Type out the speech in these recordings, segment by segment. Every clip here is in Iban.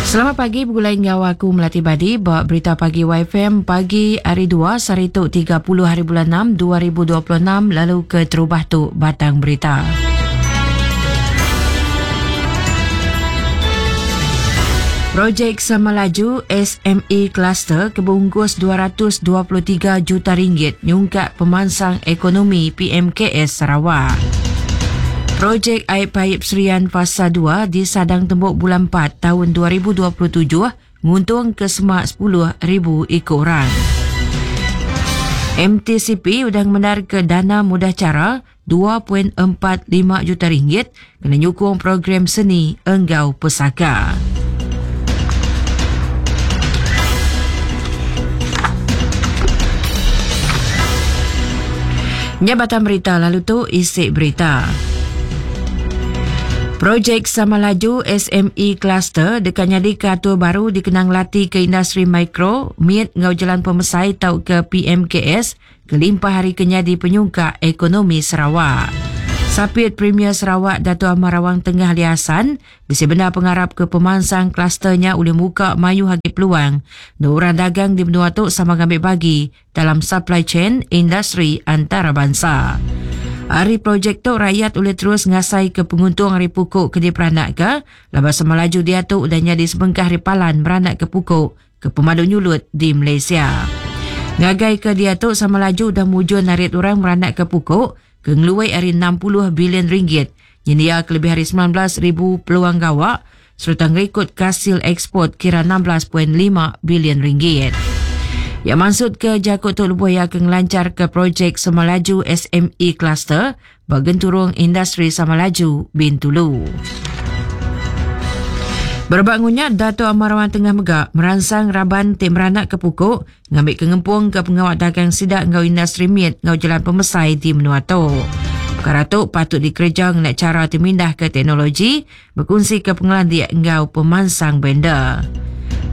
Selamat pagi begulai enggau aku Melati Badi ba Berita Pagi YFM pagi hari 2 sehari tu 30 hari bulan 6 2026 lalu ke terubah tu batang berita. Projek Sama Laju SME Cluster ke beungkus 223 juta ringgit nyungkak pemansang ekonomi PMKS Sarawak. Projek Air Paip Serian Fasa 2 disadang tembuk bulan 4 tahun 2027 nguntung ke semak 10,000 iku orang. MTCP udah ngemendar ke dana mudah cara 2.45 juta ringgit kena nyukung program seni enggau pesaka. Nya batang berita lalu tu isi berita. Projek Sama Laju SME Cluster deka nyadika atur baru dikena ngelati ke industri mikro, mit enggau jelan pemesai tauka PMKS kelimpah ari ke nyadi penyungkak ekonomi Sarawak. Sapit Premier Sarawak Datuk Amar Awang Tengah Ali Hasan bisi bendar pengarap ke pemansang kluster nya ulih muka mayuh agi peluang endur orang dagang di menua tu sama ngambi bagi dalam supply chain industri antarabansa. Ari projek tu rakyat ulih terus ngasaika penguntung ari puku ke diperanakka laban Samalaju diatu udah nyadi sebengkah ari palan meranakka puku ke pemadu nyulut di Malaysia. Ngagai ke diatu sama laju udah mujur narit orang meranakka puku ke ngeluai ari 60 bilion ringgit nyendia ke lebih ari 19,000 peluang gawa sereta ngerikod kasil eksport kira 16.5 bilion ringgit. Iya mansutka jaku tu lebuh iya ke ngelancharka projek Semalaju SME Cluster ba Genturung Industri Samalaju, Bintulu. Berebak ngunya, Datuk Amar Wan Tengah mega meransang raban ti meranakka puku ngambika ngempungka pengawa dagang sida enggau industri mit enggau jelan pemesai di menua tu. Pekara tu patut dikereja ngena chara ti mindahka teknologi, bekunsika pengelandik enggau pemansang vendor.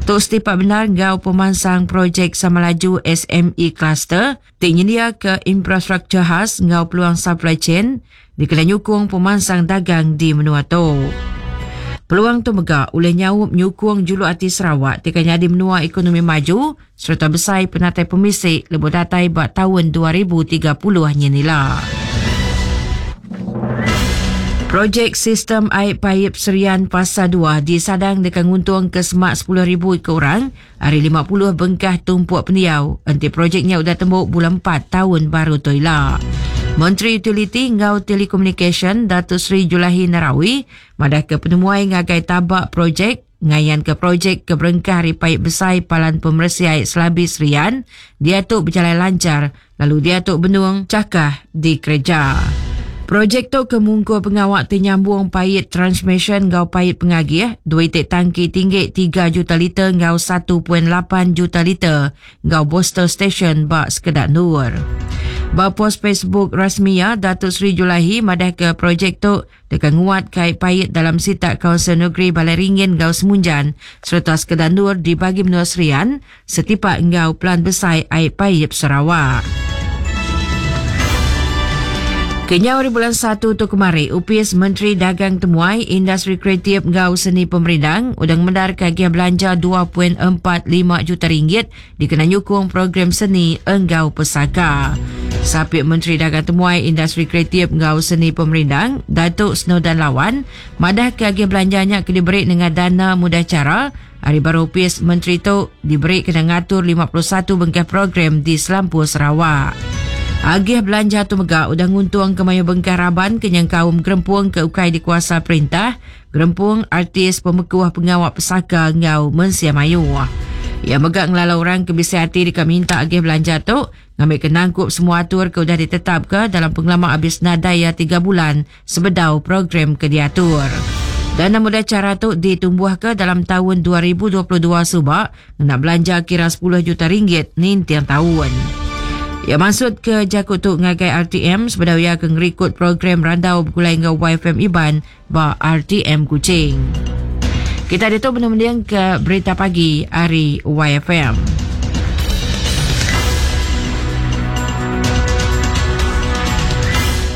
Tu setipak bendar enggau pemansang projek Samalaju SME Cluster ti nyendiaka infrastruktur khas enggau peluang supply chain dikena nyukung pemansang dagang di menua tu. Peluang tu mega ulih nyaup nyukung juluk ati Sarawak ti ka nyadi menua ekonomi maju sereta besai penatai pemisi lebuh datai ba taun 2030 nyin ila. Projek Sistem Ai Paip Serian Fasa 2 disadang deka nguntungka semak 10,000 iku orang ari 50 bengkah tumpuk pendiau enti projek nya udah tembu bulan empat taun baru tu ila. Menteri Utiliti enggau Telekomunikasyen Datuk Seri Julaihi Narawi madahka penemuai ngagai taba projek ngayanka projek ke berengkah ari paip besai Palan Pemeresi Ai Selabi Serian diatu bejalai lanchar lalu diatu benung chakah dikereja. Projek tu ke mungkur pengawa ti nyambung pait transmisyen enggau pait pengagih, dua iti tangki tinggi tiga juta liter enggau 1.8 juta liter enggau booster station ba sekeda endur. Ba pos Facebook rasmi iya, Datuk Seri Julaihi madahka projek tu deka nguat kai pait dalam sitak Kaunsil Negeri Balai Ringin enggau Semunjan sereta sekeda endur di bagi menua Serian setipak enggau Pelan Besai Ai Paip Sarawak. Kenyau ari bulan satu tu kemari, Opis Menteri Dagang Temuai, Industri Kreatif enggau Seni Pemerindang udah ngemendarka agih belanja 2.45 juta ringgit dikena nyukung program seni enggau pesaka. Sapit Menteri Dagang Temuai, Industri Kreatif enggau Seni Pemerindang, Datuk Snowdan Lawan, madahka agih belanja nya ke diberi nengah dana mudah chara Ari baruh opis menteri tu diberi kena ngatur 51 bengkah program di selampur Sarawak. Agih belanja tu mega udah nguntungka mayuh bengkah raban ke nyengkaum gerempung ke ukai dikuasa perintah, gerempung artis pemekuh pengawa pesaka enggau mensia mayuh. Iya mega ngelalau orang ke bisi ati deka minta agih belanja tu ngambika nangkup semua atur ke udah ditetapka dalam pengelama abis nadai iya tiga bulan sebedau program ke diatur. Dana mudah chara tu ditumbuhka dalam taun 2022 suba ngena belanja kira 10 juta ringgit ninting taun. Iya mansutka jaku tu ngagai RTM sebedau iya ke ngerikut program randau begulai enggau YFM Iban ba RTM Kuching. Kita ditu benung mendingka berita pagi ari YFM.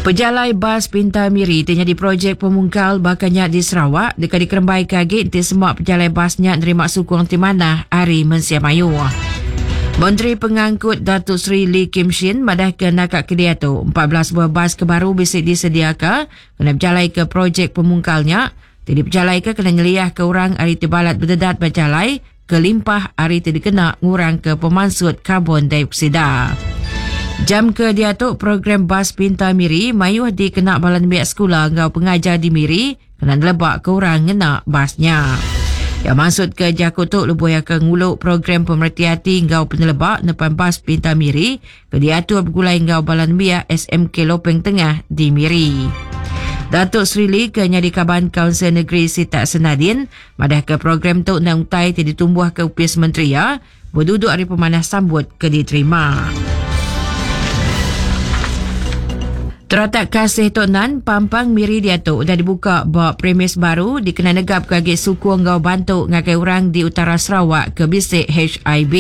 Pejalai bas pintar Miri ti nyadi projek pemungkal baka nya di Sarawak deka dikerembaika agi enti sema pejalai bas nya nerima sukung ti manah ari mensia mayuh. Menteri Pengangkut Datuk Seri Lee Kim Shin madahka naka ke diatu 14 buah bas ke baru bisi disediaka kena bejalaika projek pemungkal nya ti dipejalaika kena nyeliahka orang ari ti balat bededat ba jalai kelimpah ari ti dikena ngurangka pemansut karbon dioksida. Jam ke diatu program Bas Pintar Miri mayuh dikena bala nembiak sekula enggau pengajar di Miri kena nelebaka orang ngena bas nya. Iya mansutka jaku tu lebuh iya ke ngulu program pemereti ati enggau peneleba nepan Bas Pintar Miri ke diatur begulai enggau bala nembiak SMK Lopeng Tengah di Miri. Datuk Seri Lee ke nyadi kaban Kaunsil Negeri Sitak Senadin Madahka program tu endang utai ti ditumbuhka opis menteri iya beduduk ari pemanah sambut ke diterima. Teratak Kasih Tok Nan, Pampang Miri diatu udah dibuka ba premis baru dikena negapka agi sukung enggau bantu ngagai orang di utara Sarawak ke bisi HIV.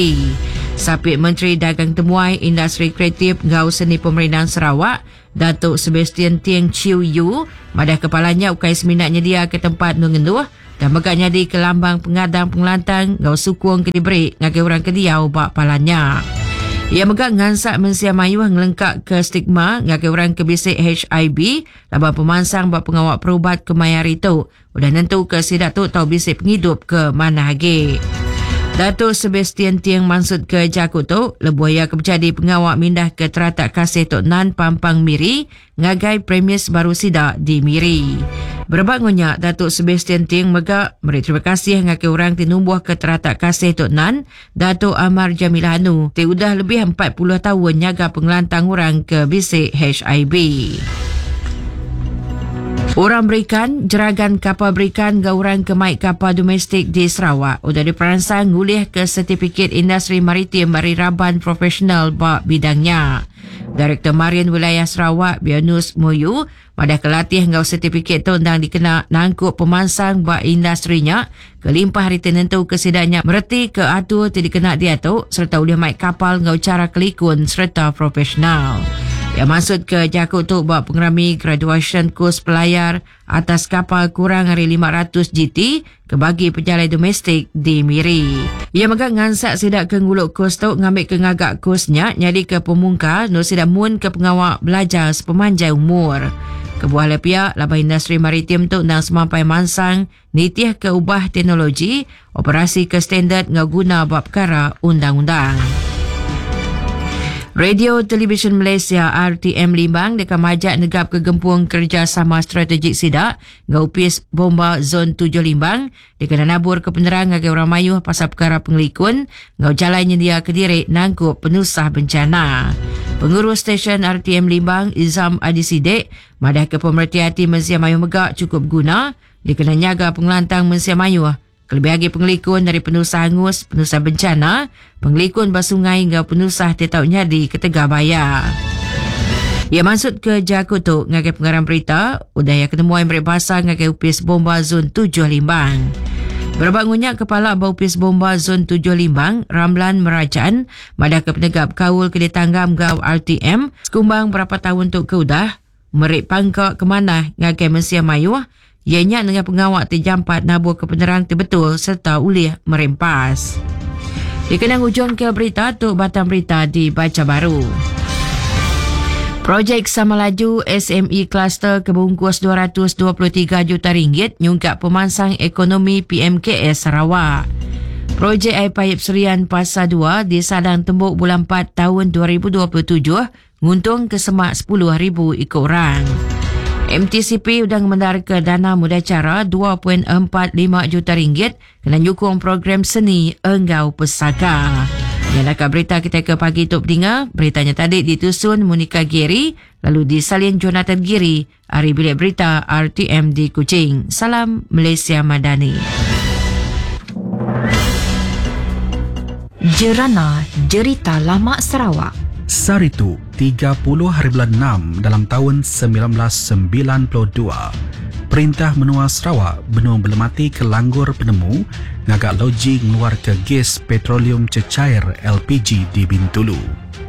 Sapit Menteri Dagang Temuai, Industri Kreatif enggau Seni Pemerindang Sarawak, Datuk Sebastian Ting Chiew Yu madah kepala nya ukai semina nyediaka tempat endur ngenduh tang mega nyadika lambang pengadang pengelantang enggau sukung ke diberi ngagai orang ke diau ba palan nya. Iya mega ngansak mensia mayuh ngelengkaka stigma ngagai orang ke bisi HIV laban pemansang ba pengawa perubat kemaya hari tu Udah nentuka sida tu tau bisi pengidup ke manah agi. Datuk Sebastian Ting mansutka jaku tu lebuh iya ke bejadi pengawa mindahka Teratak Kasih Tok Nan Pampang Miri ngagai premis baru sida di Miri. Berebak enggau nya, Datuk Sebastian Ting mega meri terima kasih ngagai orang ti numbuhka Teratak Kasih Tok Nan, Datuk Amar Jamilah Anu ti udah lebih 40 taun nyaga pengelantang orang ke bisi HIV. Orang berikan, jeragan kapal berikan enggau orang ke mai kapal domestik di Sarawak udah diperansang ngulihka setipikit industri maritim ari raban profesional ba bidang nya. Direktor Marin Wilayah Sarawak, Bionus Moyu, Madahka latih enggau setipikit tu endang dikena nangkup pemansang ba industri nya kelimpah ari ti nentuka sida nya meretika atur ti dikena diatu sereta ulih mai kapal enggau chara kelikun sereta profesional. Iya mansutka jaku tu ba pengerami graduasyen kus pelayar atas kapal kurang ari 500 GT ke bagi pejalai domestik di Miri. Iya mega ngansak sida ke ngulu kus tu ngambika ngaga kus nya nyadika pemungkal endur sida munka pengawa belajar sepemanjai umur. Kebuah alai pia laban industri maritim tu endang semampai mansang nitihka ubah teknologi, operasi ke standard enggau guna ba pekara undang-undang. Radio Televisyen Malaysia RTM Limbang deka majak negapka gempung kerejasama strategik sida enggau Opis Bomba Zon tujuh Limbang dikena naburka penerang ngagai orang mayuh pasal pekara pengelikun enggau jalai nyendiaka diri nangkup penusah bencana. Pengurus Stesen RTM Limbang, Izam Adi Sidek, madahka pemereti ati mensia mayuh mega chukup beguna dikena nyaga pengelantang mensia mayuh kelebih agi pengelikun ari penusah angus, penusah bencana, pengelikun ba sungai enggau penusah ti tau nyadi ketegal baya. Iya mansutka jaku tu ngagai pengarang berita udah iya ke nemuai meri basa ngagai Opis Bomba Zon tujuh Limbang. Berebak enggau nya, Kepala ba Opis Bomba Zon tujuh Limbang, Ramlan Merajan, madahka penegap kaul ke ditanggam enggau RTM sekumbang berapa taun tu ke udah, meri pangka ke manah ngagai mensia mayuh iya nya nengah pengawa ti jampat naburka penerang ti betul sereta ulih meri empas. Dikena ngujungka berita tu batang berita dibacha baru. Projek Sama Laju SME Cluster ke bungkus 223 juta ringgit nyungkak pemansang ekonomi PMKS Sarawak. Projek Air Paip Serian Pasar 2 disadang tembu bulan 4 tahun 2027 Nguntung ke semak 10,000 iku orang. MTCP udah ngemendarka dana mudah chara 2.45 juta ringgit kena nyukung program seni enggau pesaka. Nya naka berita kitai ke pagi tu pedinga. Berita nya tadi ditusun Monica Giri lalu disalin Jonathan Giri ari Bilik Berita RTM di Kuching. Salam Malaysia Madani. Jerana Jerita Lama Sarawak. Sehari tu, 30 hari bulan enam dalam taun 1992, Perintah Menua Sarawak benung belematika langgur penemu ngaga loji ngeluarka gas petroleum cecair, LPG, di Bintulu.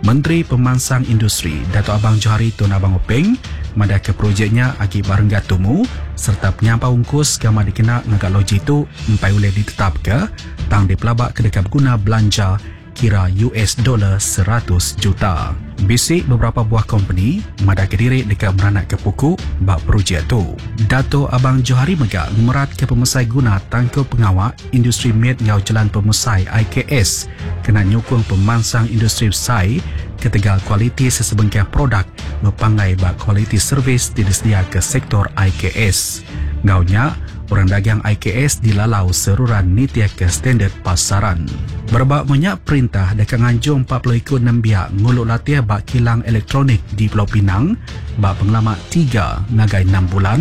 Menteri Pemansang Industri, Datuk Abang Johari Tun Abang Openg madahka projek nya agi ba renggat tumu sereta penyampau ungkus ke amat dikena ngaga loji tu empai ulih ditetapka tang dipelabaka deka beguna belanja kira US dollar 100 juta. Bisi beberapa buah kompeni madahka diri deka meranakka puku ba projek tu. Datuk Abang Johari mega ngemeratka pemesai guna tangkup pengawa Industri Mit enggau Jelan Pemesai, IKS, kena nyukung pemansang industri besai ketegal kualiti sesebengkah produk bepanggai ba kualiti servis ti disediaka sektor IKS. Enggau nya, orang dagang IKS dilalau seruran nitihka standard pasaran. Berebak enggau nya, perintah deka nganjung 40 iku nembiak ngulu latih ba kilang elektronik di Pulau Pinang ba pengelama tiga ngagai enam bulan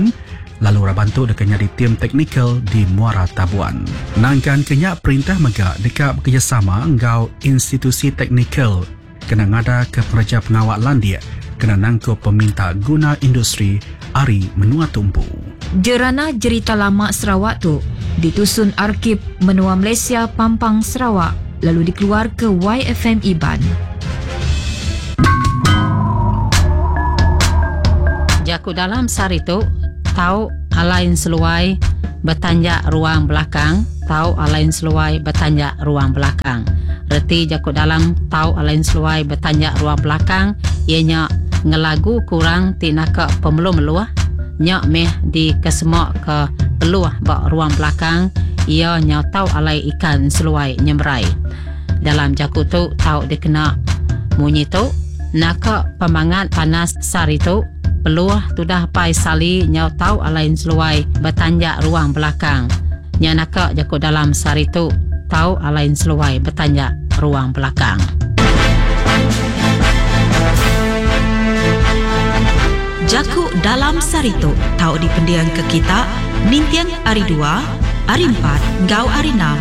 lalu raban tu deka nyadi tim teknikal di Muara Tabuan. Nangkan ke nya, perintah mega deka bekerejasama enggau institusi teknikal kena ngadaka pengereja pengawa landik kena nangkup peminta guna industri ari menua tu empu. Jerana Jerita Lama Sarawak tu ditusun Arkib Menua Malaysia Pampang Sarawak lalu dikeluarka YFM Iban. Jaku dalam sehari tu tau alai enseluai betanjak ruang belakang tau alai enseluai betanjak ruang belakang. Reti jaku dalam tau alai enseluai betanjak ruang belakang iya nya ngelagu ke orang ti naka pemeluh-meluh nya mih dikesema ke peluh ba ruang belakang iya nyau tau alai ikan enseluai nyemerai. Dalam jaku tu tau dikena munyi tu, Naka pemangat panas sehari tu, peluh tudah apai Sali nyau tau alai enseluai betanjak ruang belakang. Nya naka jaku dalam sehari tu tau alai enseluai betanjak ruang belakang. Jaku dalam sehari tu tau dipendingka kita ninting Hari Dua, Hari Empat enggau Hari Enam.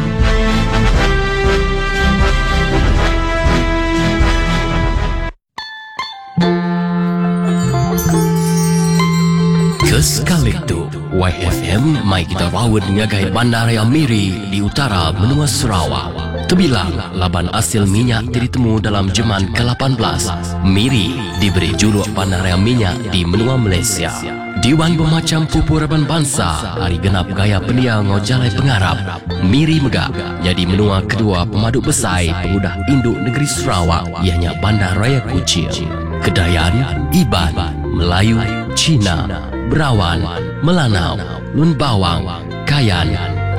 Ke sekali tu, YFM mai kita raun ngagai Bandaraya Miri di utara menua Sarawak. Tebilang laban asil minyak ti ditemu dalam jeman ke-18, Miri diberi juluk Bandaraya Minyak di menua Malaysia. Diwan bemacham pupu raban bansa ari genap gaya pendiau enggau jalai pengarap, Miri mega nyadi menua kedua pemadu besai pengudah indu negeri Sarawak iya nya Bandar Raya Kuching. Kedayan, Iban, Melayu, China, Berawan, Melanau, Lun Bawang, Kayan,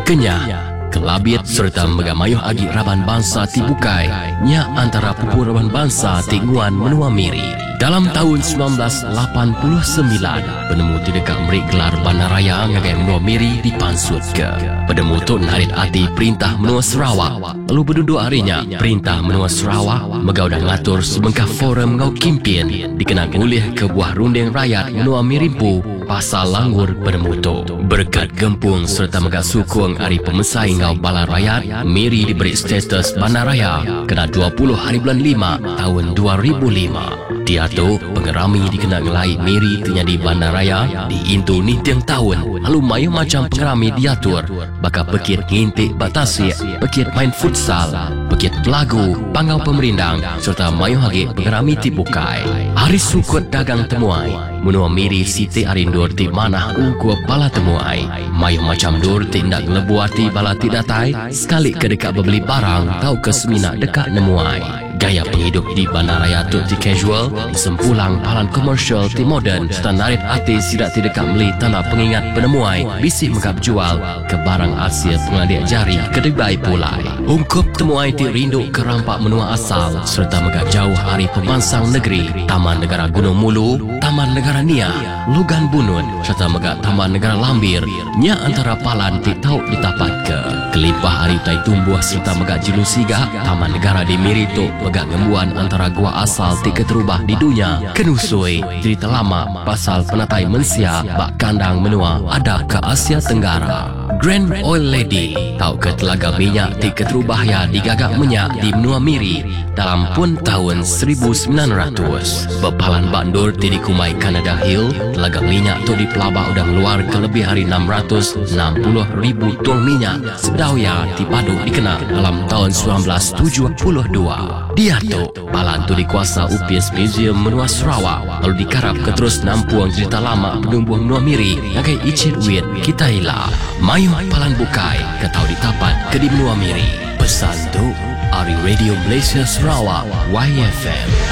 Kenyah, Kelabit sereta mega mayuh agi raban bansa ti bukai nya antara pupu raban bansa ti nguan menua Miri. Dalam taun 1989, penemu ti deka meri gelar Bandaraya ngagai menua Miri dipansutka. Penemu tu narit ati perintah menua Sarawak lalu beduduk ari nya, perintah menua Sarawak mega udah ngatur sebengkah forum enggau kimpin dikena ngulihka buah runding rayat menua Miri empu pasal langgur penemu tu. Berekat gempung sereta mega sukung ari pemesai enggau bala rayat, Miri diberi status Bandaraya kena 20 haribulan lima taun 2005. Diatu, pengerami dikena ngelai Miri ti nyadi bandaraya diintu ninting taun lalu mayuh macham pengerami diatur baka pekit nginti ba tasik, pekit main futsal, pekit belagu, panggau pemerindang sereta mayuh agi pengerami ti bukai. Ari sukut dagang temuai, menua Miri siti ari endur ti manah ungkup bala temuai. Mayuh macham endur ti enda ngelebu ati bala ti datai sekali ke deka bebeli barang tauka semina deka nemuai. Gaya pengidup di bandaraya tu ti casual, disempulang palan komersial ti moden sereta narit ati sida ti deka meli tanda pengingat penemuai bisi mega bejual ke barang asil pengelandik jari ke dibai pulai. Ungkup temuai ti rindu ke rampa menua asal sereta mega jauh ari pemansang negeri, Taman Negara Gunung Mulu, Taman Negara Niah, Lugan Bunut sereta mega Taman Negara Lambir nya antara palan ti tau ditapatka. Kelimpah ari utai tumbuh sereta mega jelu siga, Taman Negara di Miri tu mega ngembuan antara gua asal ti keterubah di dunya ke nusui jerita lama pasal penatai mensia ba kandang menua ada ke Asia Tenggara. Grand Oil Lady tauka telaga minyak ti keterubah iya digaga menya di menua Miri. dalam pun taun 1900. Bepalan ba endur ti dikumbai Canada Hill, telaga minyak tu dipelaba udah ngeluarka lebih ari 660,000 tung minyak sebedau iya ti badu dikena dalam taun 1972. Diatu, palan tu dikuasa Opis Museum Menua Sarawak lalu dikarapka terus nampung jerita lama penumbuh menua Miri ngagai ichit wit kitai ila. Mayuh palan bukai ke tau ditapat ke di menua Miri. Pesan tu ari Radio Malaysia Sarawak, YFM.